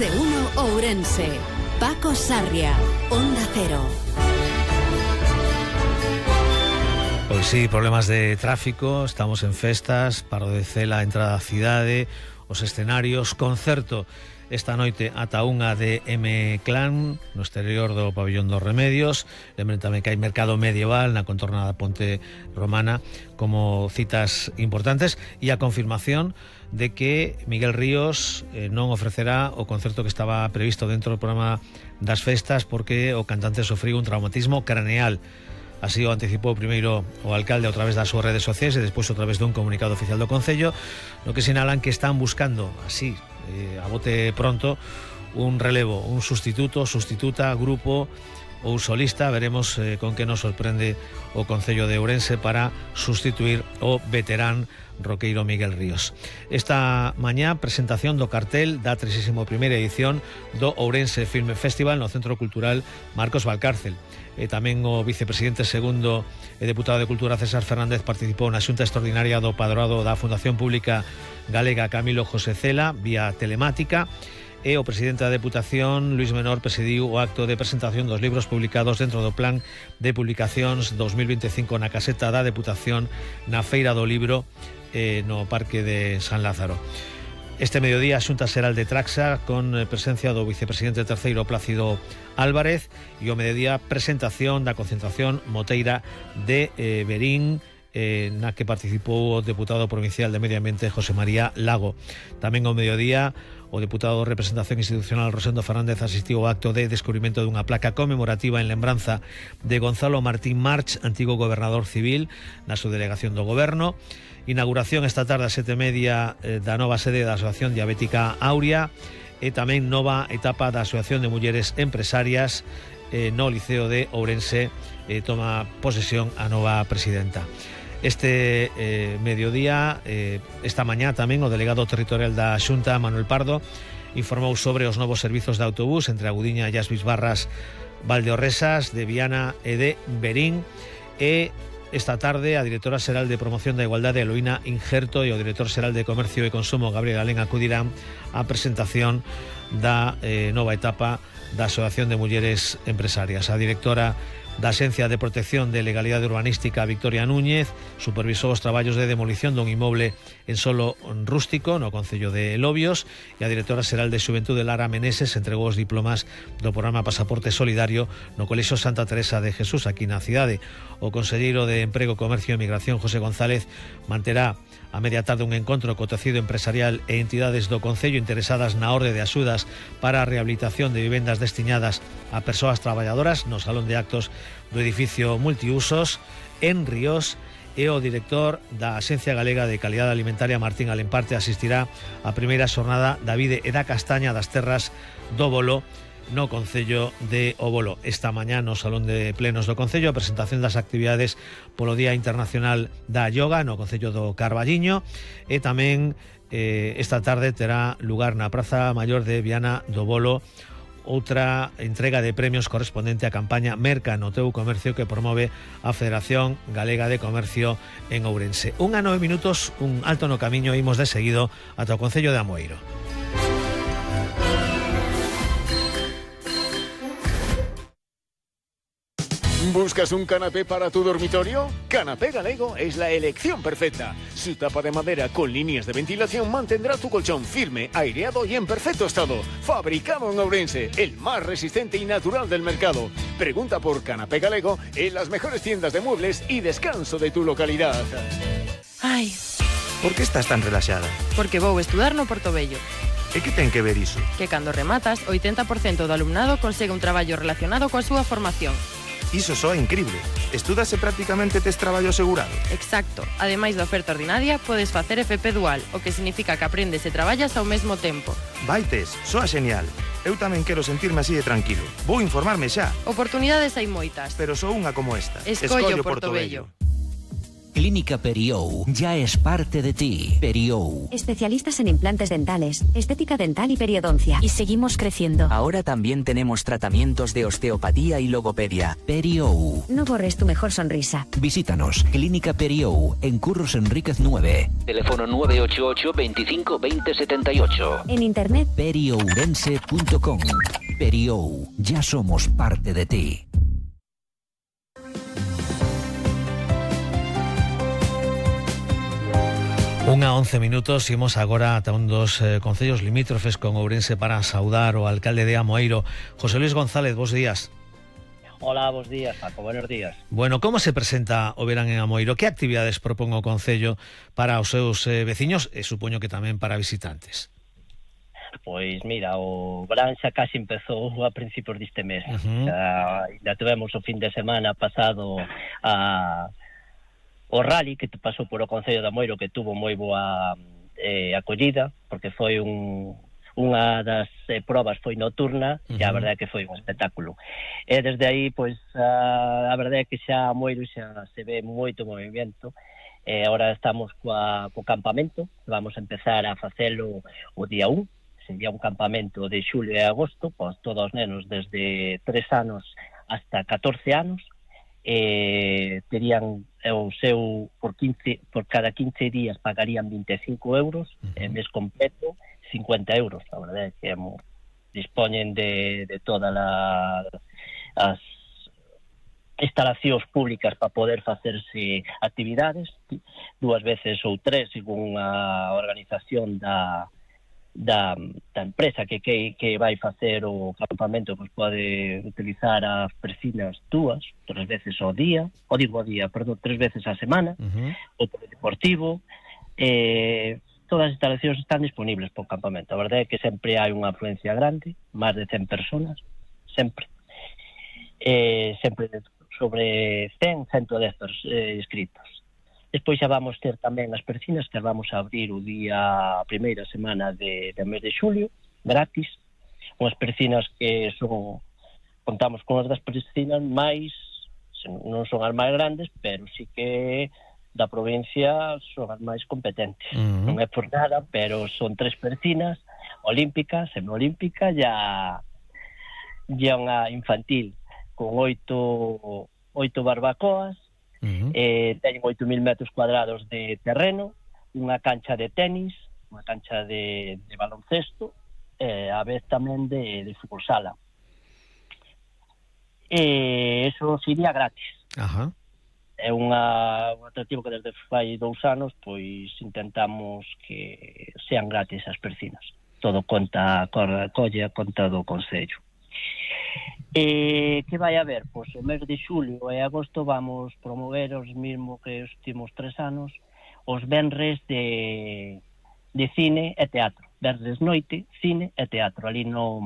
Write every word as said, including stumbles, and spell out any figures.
de uno Ourense. Paco Sarria, Onda Cero. Pois sí, problemas de tráfico, estamos en festas, paro de cela, entrada á cidade, os escenarios, concerto esta noite ata unha de M-Clan no exterior do Pabillón dos Remedios. Lembren tamén que hai mercado medieval na contorna da Ponte Romana como citas importantes, e a confirmación de que Miguel Ríos eh, non ofrecerá o concerto que estaba previsto dentro do programa das festas porque o cantante sofriu un traumatismo craneal. Así o anticipou primeiro o alcalde a través das súas redes sociais e despois a través dun comunicado oficial do Concello, no que sinalan que están buscando así, eh, a bote pronto, un relevo, un sustituto, sustituta, grupo ou solista. Veremos eh, con que nos sorprende o Concello de Ourense para sustituir o veterán roqueiro Miguel Ríos. Esta mañá presentación do cartel da trinta e primeira edición do Ourense Film Festival no Centro Cultural Marcos Valcárcel. E tamén o vicepresidente segundo e deputado de Cultura César Fernández participou na xunta extraordinaria do Padroado da Fundación Pública Galega Camilo José Cela vía telemática, e o presidente da Deputación Luís Menor presidiu o acto de presentación dos libros publicados dentro do Plan de Publicacións dos mil veinticinco na caseta da Deputación na Feira do Libro eh, no Parque de San Lázaro. Este mediodía a Xunta Xeral de Traxa con presencia do vicepresidente terceiro Plácido Álvarez, e o mediodía presentación da concentración moteira de eh, Berín, eh, na que participou o deputado provincial de Medio Ambiente José María Lago. Tamén ao mediodía o deputado de Representación Institucional Rosendo Fernández asistiu ao acto de descubrimento dunha placa conmemorativa en lembranza de Gonzalo Martín March, antigo gobernador civil, na subdelegación do Goberno. Inauguración esta tarde a sete e media eh, da nova sede da Asociación Diabética Aurea, e tamén nova etapa da Asociación de Mulleres Empresarias eh, no Liceo de Ourense. Eh, toma posesión a nova presidenta. Este eh, mediodía, eh, esta mañá tamén o delegado territorial da Xunta, Manuel Pardo, informou sobre os novos servizos de autobús entre Agudiña e as Bisbarras Valdeorresas, de Viana e de Berín. E esta tarde a directora xeral de Promoción da Igualdade, Eloína Injerto, e o director xeral de Comercio e Consumo, Gabriel Alén, acudirán á presentación da eh, nova etapa da Asociación de Mulleres Empresarias. A directora da Axencia de Protección de Legalidade Urbanística, Victoria Núñez, supervisou os traballos de demolición dun inmoble en solo rústico no Concello de Lobios, e a directora xeral de Xuventude, Lara Meneses, entregou os diplomas do programa Pasaporte Solidario no Colexio Santa Teresa de Jesús, aquí na cidade. O conselleiro de Emprego, Comercio e Migración, José González, manterá a media tarde un encontro co tecido empresarial e entidades do Concello interesadas na orde de axudas para a rehabilitación de vivendas destinadas a persoas traballadoras no Salón de Actos do edificio multiusos en Ríos, e o director da Axencia Galega de Calidade Alimentaria, Martín Alemparte, asistirá á primeira xornada da vide e da castaña das terras do Bolo no Concello de O Bolo. Esta mañá no Salón de Plenos do Concello a presentación das actividades polo Día Internacional da Yoga no Concello do Carballiño, e tamén eh, esta tarde terá lugar na Praza Maior de Viana do Bolo outra entrega de premios correspondente á campaña Merca no teu comercio que promove a Federación Galega de Comercio en Ourense. Un a nove minutos, un alto no camiño, imos de seguido ata o Concello de Amoeiro. ¿Buscas un canapé para tu dormitorio? Canapé Galego es la elección perfecta. Su tapa de madera con líneas de ventilación mantendrá tu colchón firme, aireado y en perfecto estado. Fabricado en Ourense, el más resistente y natural del mercado. Pregunta por Canapé Galego en las mejores tiendas de muebles y descanso de tu localidad. Ai, Por que estás tan relaxada? porque vou estudar no Portobello. E que ten que ver iso? Que cando rematas, oitenta por cento do alumnado consegue un traballo relacionado coa súa formación. Iso soa increíble. Estúdase prácticamente tes traballo asegurado. Exacto. Ademais da oferta ordinaria, podes facer F P dual, o que significa que aprendes e traballas ao mesmo tempo. Vaites, soa genial. Eu tamén quero sentirme así de tranquilo. Vou informarme xa. Oportunidades hai moitas. Pero só unha como esta. Escollo Portobello. Clínica Periou ya es parte de ti. Periou. Especialistas en implantes dentales, estética dental y periodoncia. Y seguimos creciendo. Ahora también tenemos tratamientos de osteopatía y logopedia. Periou. No borres tu mejor sonrisa. Visítanos. Clínica Periou, en Curros Enríquez nueve. Teléfono nueve ocho ocho, veinticinco, veinte, setenta y ocho. En internet periourense punto com. Periou, ya somos parte de ti. Unha once minutos, imos agora ata un dos eh, concellos limítrofes con Ourense para saudar o alcalde de Amoeiro, José Luis González. Bos días. Hola, bos días, Paco, buenos días. Bueno, como se presenta o verán en Amoeiro? Que actividades propón o concello para os seus eh, veciños e supoño que tamén para visitantes? Pois mira, o verán xa casi empezou a principios deste mes. Uh-huh. Xa, ainda tivemos o fin de semana pasado a o rally que te pasou por o Concello de Amoeiro, que tuvo moi boa eh, acollida, porque foi un, unha das eh, probas foi nocturna, uh-huh. e a verdade é que foi un espectáculo. E desde aí, pois, a, a verdade é que xa Amoeiro xa se ve moito movimento. E agora estamos coa, co campamento, vamos a empezar a facelo o día un, sería un campamento de xulio e agosto, pois todos os nenos desde tres anos hasta catorce anos, eh, terían o seu por quince por cada quince días pagarían vinte e cinco euros, uh-huh. e mes completo cincuenta euros. A verdade é que mo, dispoñen de, de todas la, as instalacións públicas para poder facerse actividades dúas veces ou tres según a organización da Da, da empresa que, que, que vai facer o campamento, pois pode utilizar as piscinas dúas, tres veces ao día, ou digo ao día, perdón, tres veces á semana, uh-huh. o polideportivo, eh, todas as instalacións están disponibles para o campamento. A verdade é que sempre hai unha afluencia grande, máis de cen personas, sempre. Eh, sempre sobre cen, ciento dez eh, inscritos. Despois xa vamos ter tamén as piscinas que vamos a abrir o día, a primeira semana de, de mes de xulio, gratis. Unhas piscinas que son, contamos con as das piscinas máis, non son as máis grandes, pero sí que da provincia son as máis competentes. Uh-huh. Non é por nada, pero son tres piscinas olímpicas, semiolímpica e a, e unha infantil con oito, oito barbacoas. Uh-huh. Eh, teñen oito mil metros cuadrados de terreno, unha cancha de tenis, unha cancha de, de baloncesto, e eh, a vez tamén de, de fútbol sala. E eh, eso sería gratis. Ajá. É unha, un atractivo que desde fai dous anos pois intentamos que sean gratis as piscinas. Todo conta, colle a conta do Concello. Eh, que vai haber? Pois o mes de xulio e agosto vamos promover os mismos que os últimos tres anos, os venres de, de cine e teatro. Venres noite, cine e teatro, ali no,